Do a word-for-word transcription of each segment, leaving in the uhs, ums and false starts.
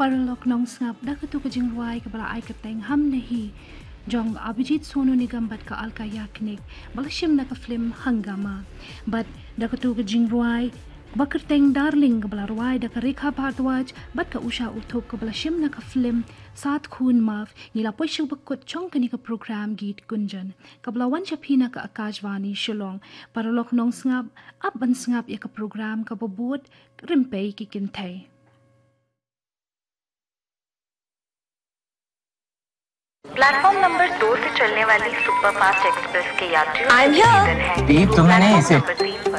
Paralok nongsngap, da katu ka jingrwai kaba la ai kyrteng Hum Nahi jong Abhijit Sonu Nigam bad ka Alka Yagnik, ba la shim na ka film Hungama. Bad da katu ka jingrwai ba kyrteng Darling kaba la rwai da ka Rekha Bhardwaj bad ka Usha Uthup kaba la shim na ka film Saat Khoon Maaf, ngi la poi sha kaba kut jong kane ka program Geet Gunjan kaba la wan sha phi na ka Akashvani Shillong. Paralok nongsngap, ap ban sngap ïa ka program kaba bud Rympei ki Kynthei. Platform number दो से चलने वाली superfast express के यात्रियों से निवेदन है। ये तुम्हें नहीं, इसे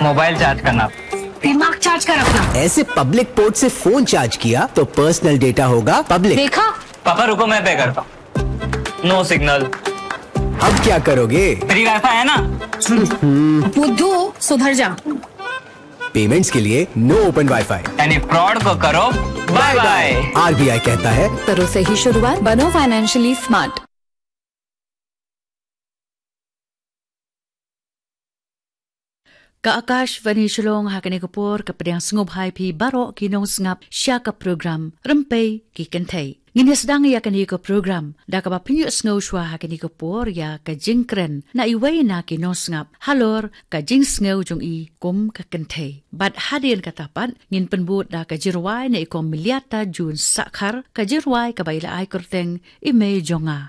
मोबाइल चार्ज करना। दिमाग चार्ज कर अपना। ऐसे पब्लिक पोर्ट से फोन चार्ज किया तो पर्सनल डेटा होगा पब्लिक। देखा? पापा रुको, मैं पे करता हूँ। No signal. अब क्या करोगे? फ्री वाईफाई है ना? बुद्धू, सुधर जा। पेमेंट्स के लिए नो ओपन वाईफाई। यानी फ्रॉड को करो बाय बाय। आरबीआई कहता है, करो सही शुरुआत, बनो financially smart. Ka Akashvani Shillong, ha kane ka por ka pdiang sngewbha ïa phi baroh ki nongsngap sha ka program Rympei ki Kynthei. Ngin ïa sdang ïa kane ka program da kaba phin ïohsngew shuwa ha kane ka por ïa ka jingkren na iwei na ki nongsngap halor ka jingsngew jong i kum ka kynthei. Bad hadien kata pat ngin pynbud da ka jingrwai na i Kong Miliata June Sahkhar, ka jingrwai kaba i la ai kyrteng I Mei Jong Nga.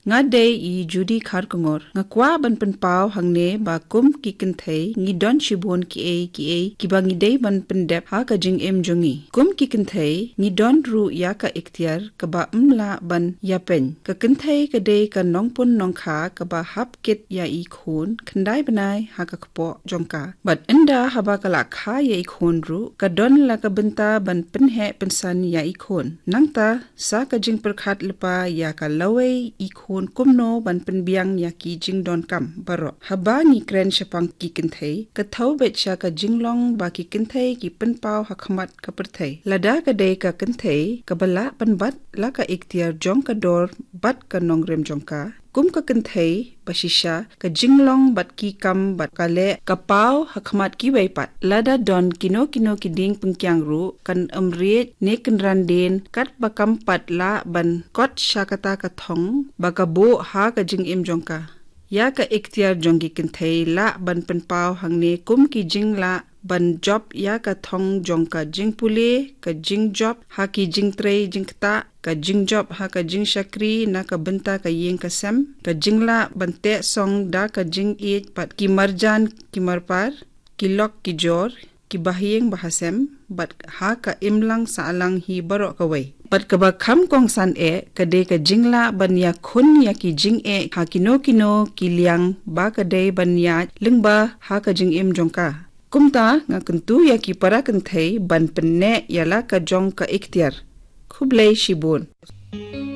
Nga dei i Judy Kharkongor. Nga kwah ban pynpaw hangne ba kum ki kynthei ngi don shibun kiei kiei kiba ngi dei ban pyndep ha ka jingim jong ngi. Kum ki kynthei ngi don ruh ïa ka iktiar kaba ym lah ban ïapeiñ. Ka kynthei ka dei ka nongpun nongkha kaba hap kit ïa i khun khyndai bnai ha ka kpoh jong ka. Bad ynda haba ka la kha ïa i khun ruh, ka don la ka bynta ban pynheh pynsan ïa i khun. Nangta sa ka jingpyrkhat lypa ïa ka lawei i khun kumno ban pynbiang ïa ki jingdonkam baroh. Haba ngi kren shaphang ki kynthei, ka thew beit sha ka jinglong ba ki kynthei ki pynpaw ha khmat ka pyrthei. Lada ka dei ka kynthei kaba lah pynbat la ka iktiar jong ka dor bad ka nongrim jong ka, kum ka kynthei ba shisha, ka jinglong bad ki kam bad ka leh ka paw ha khmat kiwei pat. Lada don kino kino ki dieng pyngkiang ruh, kan ym riej ne kynran dien katba kam pat lah ban kot sha kata ka thong ba ka buh ha ka jingim jong ka. Ïa ka iktiar jong ki kynthei lah ban pynpaw hangne kum ki jinglah ban jop ïa ka thong jong ka jingpule, ka jingjop ha ki jingtrei jingktah, ka jingjop ha ka jingshakri na ka bynta ka ïing ka sem, ka jinglah ban teh song da ka jingïeit bad ki marjan ki marpar, ki lok ki jor, ki bahaïing bahasem, bad ha ka imlang sahlang hi baroh kawei. Bad kaba kham kongsan eh, ka dei ka jinglah ban ïakhun ïa ki jingeh ha kino kino ki liang ba ka dei ban ïaid lyngba ha ka jingim jong ka. Kumta nga kyntu ïa ki para kynthei ban pynneh ïa la ka jong ka iktiar. Khublei shibun.